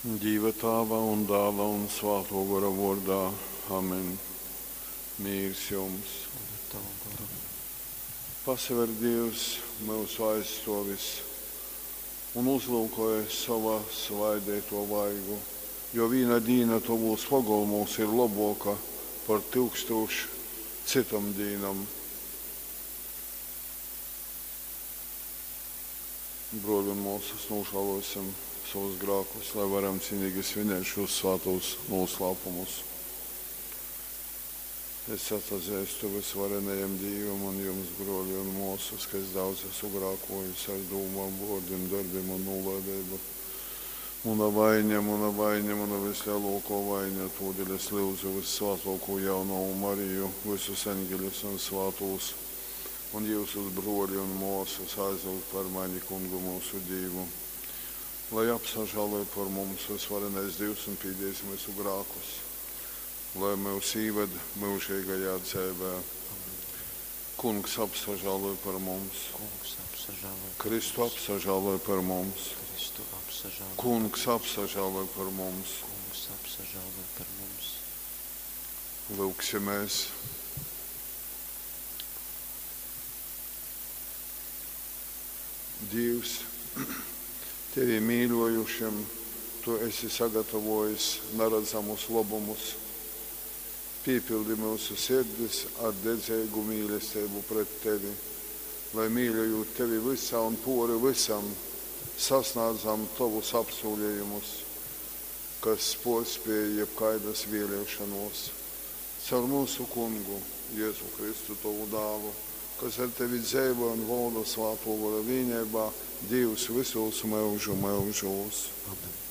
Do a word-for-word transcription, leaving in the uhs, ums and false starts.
Dīva Tāva un Dāla un Svātō Gora vōrdā. Amen. Mīrs jums. Un ar tavu goru. Pasaver Dīvs myusu aizstōvis un uzlyukoj sova svaideitō vaigu, jo vīna dīna tovūs pogolmūs ir lobōka par tyukstūš cytom dīnom. Brōli un mōsas, nūžālōsim savus grākus, lai varam cienīgi svinēt šos svātos noslēpumus. Es atzīstu visvarenajam Dievam un jums, brōļi un māsas, ka es daudz esmu grēkojis ar domām, vārdiem, darbiem un nolaidību. Muna vaina, muna vaina, muna vislielākā vaina, tūdēļ es lūdzu vissvētāko jaunavu Mariju, visus eņģeļus un svātos, un jūsus brōļi un māsas aizlūgt par mani kungu mūsu Dievu. Lai apsažāloj par mums visvarenais Dievs un pīdies mūsu grēkus, lai mūs ieved mūžīgajā dzīvē. Amen. Kungs apsažāloj par mums, Kungs apsažāloj par Kristu mums. apsažāloj par mums, Kristu apsažāloj. Kungs apsažāloj par mums. Kungs apsažāloj par mums. Lūksimies! Dievs, tevi mīļojušiem, tu esi sagatavojis neredzamus labumus. Piepildi mūsu sirdis ar dedzīgu mīlestību pret tevi, lai mīļojot tevi visā un pori visam, sasniedzam tavus apsolījumus, kas porspēja jebkādas vēlēšanos. Caur mūsu kungu, Jēzu Kristu, tavu dālu, kas ar tevi dzīvo un valda svāto gora vienībā, Dievs visos mūžu mūžos. Amen.